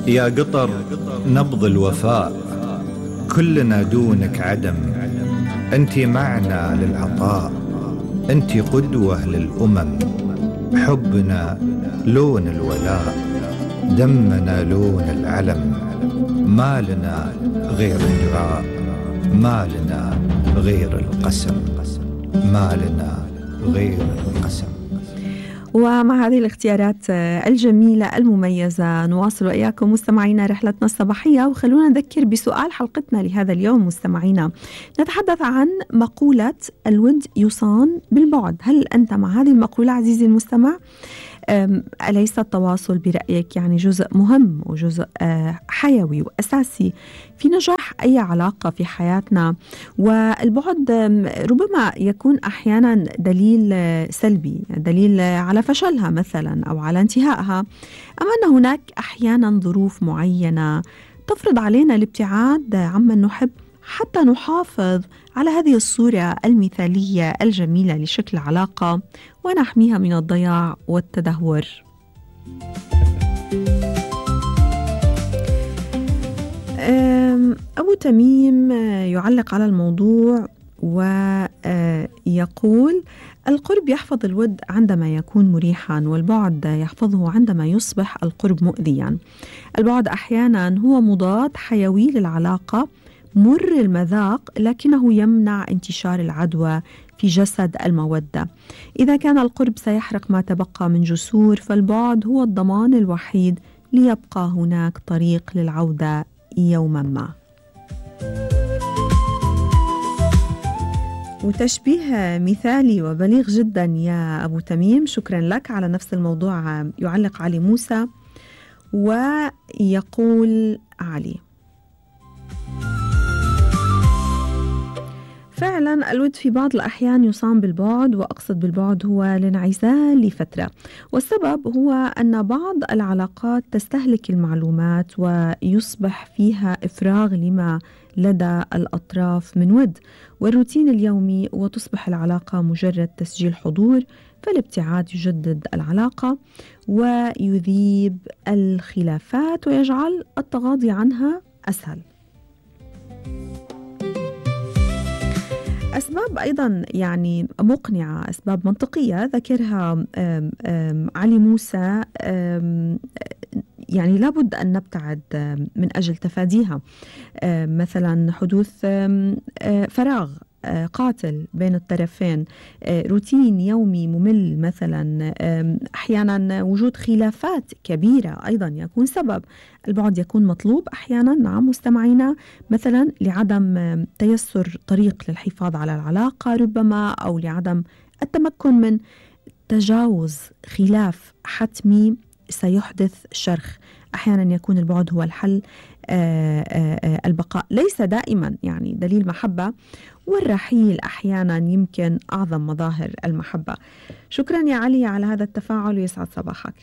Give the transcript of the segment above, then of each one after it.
يا قطر نبض الوفاء، كلنا دونك عدم. انتي معنا للعطاء، انتي قدوة للأمم. حبنا لون الولاء، دمنا لون العلم. ما لنا غير الدعاء، ما لنا غير القسم، ما لنا غير القسم. ومع هذه الاختيارات الجميلة المميزة نواصل وإياكم مستمعينا رحلتنا الصباحية. وخلونا نذكر بسؤال حلقتنا لهذا اليوم مستمعينا. نتحدث عن مقولة الود يصان بالبعد. هل أنت مع هذه المقولة عزيزي المستمع؟ أليس التواصل برأيك يعني جزء مهم وجزء حيوي وأساسي في نجاح أي علاقة في حياتنا؟ والبعد ربما يكون أحيانا دليل سلبي، دليل على فشلها مثلا أو على انتهائها، أما أن هناك أحيانا ظروف معينة تفرض علينا الابتعاد عمن نحب حتى نحافظ على هذه الصورة المثالية الجميلة لشكل علاقة ونحميها من الضياع والتدهور. أبو تميم يعلق على الموضوع ويقول: القرب يحفظ الود عندما يكون مريحا، والبعد يحفظه عندما يصبح القرب مؤذيا. البعد أحيانا هو مضاد حيوي للعلاقة، مر المذاق، لكنه يمنع انتشار العدوى في جسد المودة. إذا كان القرب سيحرق ما تبقى من جسور، فالبعد هو الضمان الوحيد ليبقى هناك طريق للعودة يوما ما. وتشبيه مثالي وبليغ جدا يا أبو تميم، شكرا لك. على نفس الموضوع يعلق علي موسى ويقول علي: فعلا الود في بعض الأحيان يصام بالبعد، وأقصد بالبعد هو الانعزال لفترة، والسبب هو أن بعض العلاقات تستهلك المعلومات ويصبح فيها إفراغ لما لدى الأطراف من ود والروتين اليومي، وتصبح العلاقة مجرد تسجيل حضور. فالابتعاد يجدد العلاقة ويذيب الخلافات ويجعل التغاضي عنها أسهل. أسباب أيضا يعني مقنعة، أسباب منطقية ذكرها علي موسى، يعني لابد أن نبتعد من أجل تفاديها. مثلا حدوث فراغ قاتل بين الطرفين، روتين يومي ممل مثلا، أحيانا وجود خلافات كبيرة أيضا يكون سبب. البعد يكون مطلوب أحيانا، نعم مستمعينا، مثلا لعدم تيسر طريق للحفاظ على العلاقة ربما، أو لعدم التمكن من تجاوز خلاف حتمي سيحدث شرخ. أحيانا يكون البعد هو الحل. البقاء ليس دائما يعني دليل محبة، والرحيل أحيانا يمكن أعظم مظاهر المحبة. شكرا يا علي على هذا التفاعل، ويسعد صباحك.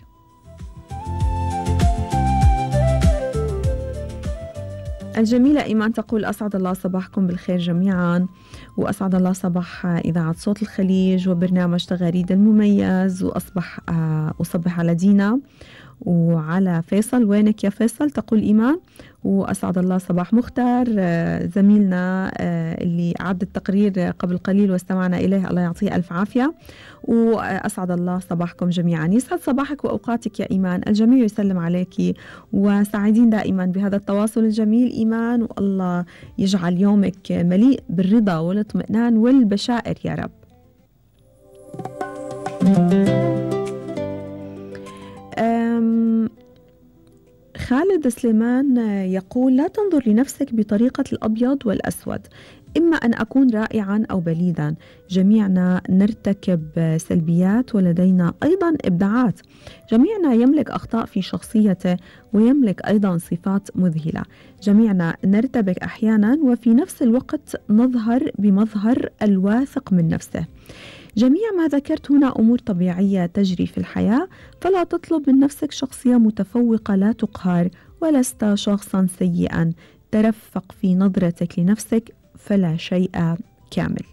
الجميلة إيمان تقول: أسعد الله صباحكم بالخير جميعا، وأسعد الله صباح إذاعة صوت الخليج وبرنامج تغاريد المميز، وأصبح أصبح على دينا وعلى فيصل. وينك يا فيصل؟ تقول إيمان. وأسعد الله صباح مختار زميلنا اللي أعد التقرير قبل قليل واستمعنا إليه، الله يعطيه ألف عافية. وأسعد الله صباحكم جميعا. يسعد صباحك وأوقاتك يا إيمان، الجميع يسلم عليك، وسعيدين دائما بهذا التواصل الجميل إيمان، والله يجعل يومك مليء بالرضا والاطمئنان والبشائر يا رب. خالد سليمان يقول: لا تنظر لنفسك بطريقة الأبيض والأسود، إما أن أكون رائعا أو بليدا، جميعنا نرتكب سلبيات ولدينا أيضا إبداعات، جميعنا يملك أخطاء في شخصيته ويملك أيضا صفات مذهلة، جميعنا نرتبك أحيانا وفي نفس الوقت نظهر بمظهر الواثق من نفسه. جميع ما ذكرت هنا أمور طبيعية تجري في الحياة، فلا تطلب من نفسك شخصية متفوقة لا تقهر، ولست شخصا سيئا، ترفق في نظرتك لنفسك فلا شيء كامل.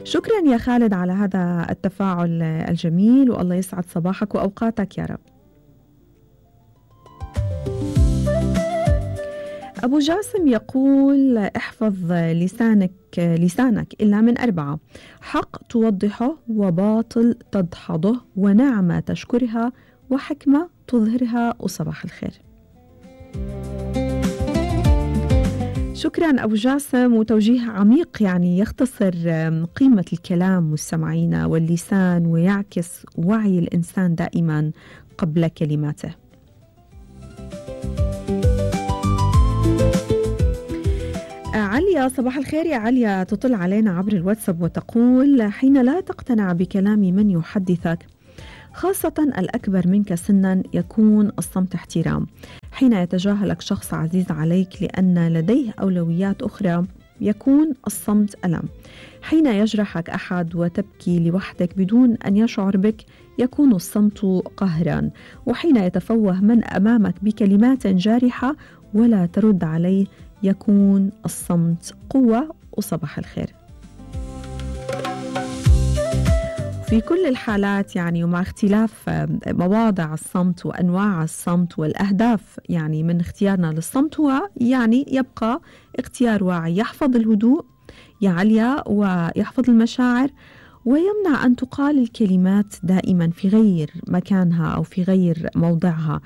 شكرا يا خالد على هذا التفاعل الجميل، والله يسعد صباحك وأوقاتك يا رب. أبو جاسم يقول احفظ لسانك إلا من 4: حق توضحه، وباطل تدحضه، ونعمة تشكرها، وحكمة تظهرها، وصباح الخير. شكرا أبو جاسم، وتوجيه عميق يعني يختصر قيمة الكلام مستمعينا واللسان، ويعكس وعي الإنسان دائما قبل كلماته. عليا، صباح الخير يا عليا، تطل علينا عبر الواتساب وتقول: حين لا تقتنع بكلام من يحدثك، خاصة الأكبر منك سنا، يكون الصمت احترام. حين يتجاهلك شخص عزيز عليك لأن لديه أولويات أخرى، يكون الصمت ألم. حين يجرحك أحد وتبكي لوحدك بدون أن يشعر بك، يكون الصمت قهرا. وحين يتفوه من أمامك بكلمات جارحة ولا ترد عليه، يكون الصمت قوة، وصباح الخير. في كل الحالات يعني، ومع اختلاف مواضع الصمت وأنواع الصمت والأهداف يعني من اختيارنا للصمت، هو يعني يبقى اختيار واعي يحفظ الهدوء يا عليا، ويحفظ المشاعر، ويمنع أن تقال الكلمات دائما في غير مكانها أو في غير موضعها.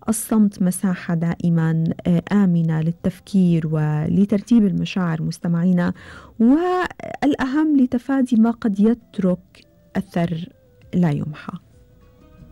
الصمت مساحة دائما آمنة للتفكير ولترتيب المشاعر مستمعينا، والأهم لتفادي ما قد يترك أثر لا يمحى.